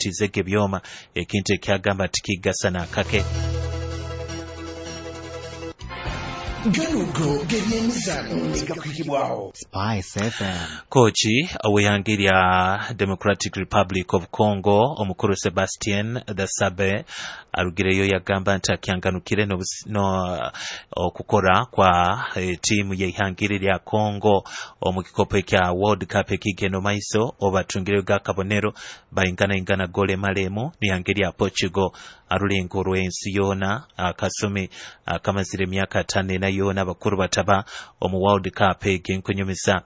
Bamutizege ebyoma ekintu ekyagamba tikigasa nakake. Ganugo g'ebyemizaano negakwikibwaho Spice FM. Kochi ow'ihanga lya Democratic Republic of Congo omukuru Sebastien Desabre arugireyo yagamba nti akyanganukire no okukora kwa tiimu y'ihangiri lya Congo omu kikopo ekya World Cup ekigenda omu maiso obatungireyo gakabonero baingana ingana gole malemu n'ihanga lya Portugal arulengo rw'ensi yoona akasumi akamazire emyaka 54 yoona abakuru bataba omu World Cup egenkunyumisa.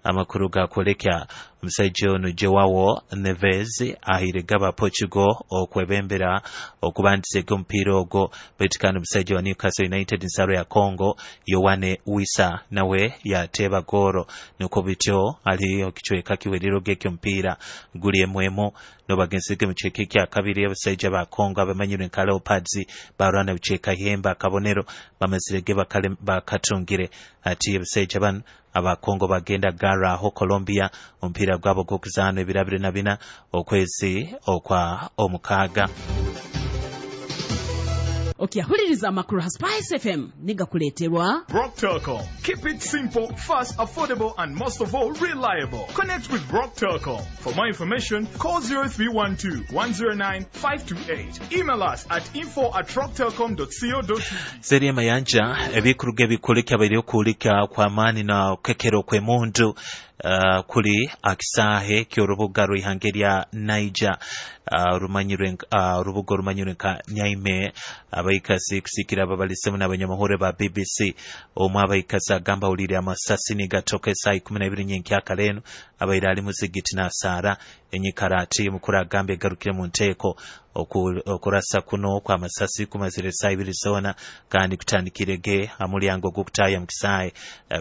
Amakuru gakwoleka omusajja ono Joao Neves ahire gaba Portugal okwebembera okubandisega omupiira ogwo, baitu kandi omusajja wa Newcastle United nsaro ya Congo Yoane Wissa nawe yateeba gooro, nukwo bityo ali okicweka kiwerero g'ekyomupiira guli emwemu nobagenzege mu kicweka ekya kabiri. Abasajja ba Congo abamanyirwe nka Leopards barwana bucweka hemba akabonero bamazirege bakatungire. Ati abasajja bano aba Congo bagenda garaho Colombia omupiira gwabo gw'okuzaana ebiro 24 okwezi okwa omukaaga. Okyahuliriza amakuru ha Spice FM nigakuleeterwa Rock Telcom. Keep it simple, fast, affordable, and most of all, reliable. Connect with Rock Telcom. For more information, call 0312 109 528. Email us at info@rocktelcom.co.ug. Seri mayanja ebikuruga ebikulika biri okulika kwa maani na kekero kw'emundu kuli akisahe ky'orubuga rw'ihanga lya Niger, rumanyirwe urubuga rumanyirwe nka Nyaime. Abaikasi kusikira ababalisemu n'abanyamahoro ba BBC omwe abaikasi agamba awulire amasasi nigatoka esaaha 12 nyenkyakara eno abaire ali muzigiti n'asaara enyikara ati mukuru agamba egarukire mu nteeko. Okurasa kuno kw'amasasi kumazire esaaha 2 zoona kandi kutandikirege amulyango gw'okutaaya mu kisaahe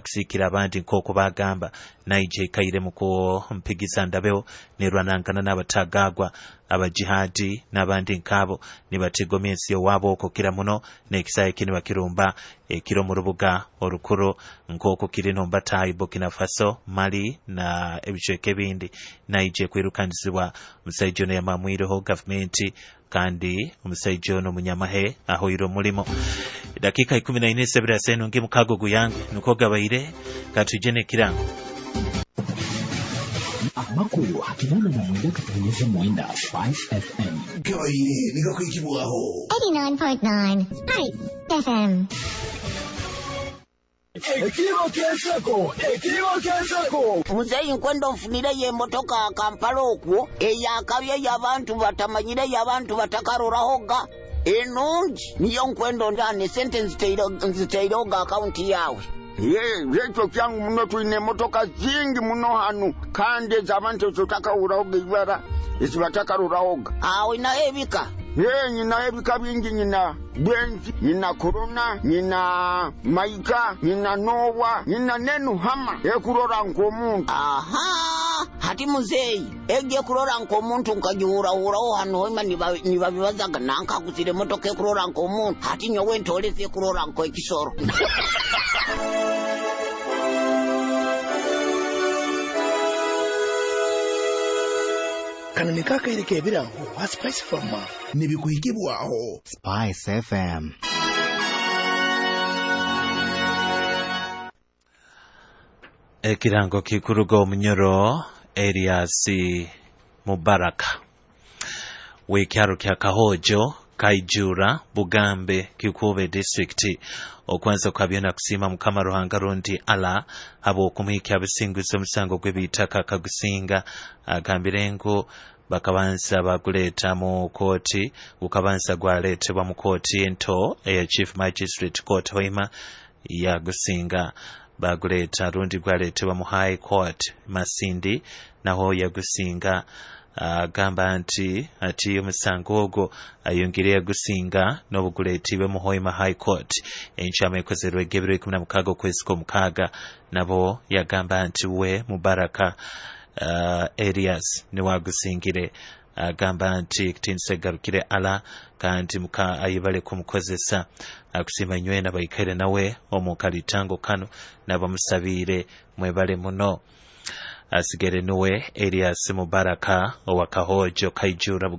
kusikira abandi nk'oku bagamba. Niger ikaire mu kumpigiza ndabeho nerwanangana n'abatagagwa abajihadi n'abandi nkabo nibatigomya ensi yowaabo okukira muno n'ekisaahe kini bakirumba ekiro mu rubuga orukuru nk'oku kiri nombataayi Burkina Faso, Mali na ebicweka ebindi. Niger kwirukanizibwa omusaija ono yamamwireho gavumenti kandi omusaija ono munyamahe ahoire omulimo. Dakika 14 sebira senu ngi mukago guyange nuko gabaire katuje n'ekirango. Amakuru akinana na mwenda katonyeza mwenda Spice FM. Gabaire negakwikibwaho 89.9 Spice FM. Ekiro ky'enseko, ekiro ky'enseko. Muzeeyi nkwenda onfunireyo emotoka Kampala okwo eyakabye y'abantu batamanyire y'abantu batakarorahoga enungi niyo nkwenda onjane sente nziteirehoga akaunti yawe. Ekyo kyangu muno, tulina emotoka zingi muno hanu kandi ez'abantu ezotakahurahoga ibara ezibatakarorahoga. Awe nayo ebika? Nyina ebika bingi, nyina Bwenzi, nyina Corona, nyina Maika, nyina Nowa, nyina Nenuhama ekurora nk'omuntu. Aha, hati muzeeyi egi ekurora nk'omuntu nkagihurahuraho hanu hoima nibabibazaga nankaguzire emotoka ekurora nk'omuntu, hati nyowe ntolese ekurora nk'ekisoro. Kano nikakaire k'ebirango ha Spice Farmer nibikuhikibwaho Spice FM. Ekirango kikuruga omunyoro Elias Mubaraka w'ekyaro kya Kahojo Kaijura Bugambe Kikube district okwanza kwa byona kusiima Mukama Ruhanga rundi Allah habw'okumuhikya abusinguzi omusango gw'ebitaka akagusinga. Agambire ngu bakabanza baguleeta mu kooti, gukabanza gwaleetebwa mu kooti ento eya Chief Magistrate Court Hoima yagusinga, baguleeta rundi gwaleetebwa mu High Court Masindi naho yagusinga. Agamba nti ati omusango ogwo ayongere yagusinga n'obuguleetibwe mu Hoima High Court enkyama ekozerwe ebiro 16 okwezi kw'omukaaga, nabo yagamba nti we Mubaraka Elias niwagusingire. Agamba nti kitiinisa egarukire Allah kandi muka ayibale kumukozesa akusiima nywena baikaire nawe omu kalitango kano nabamusabiire mwebale muno. Asigere nuwe Elias Mubaraka owa Kahojo Kaijura.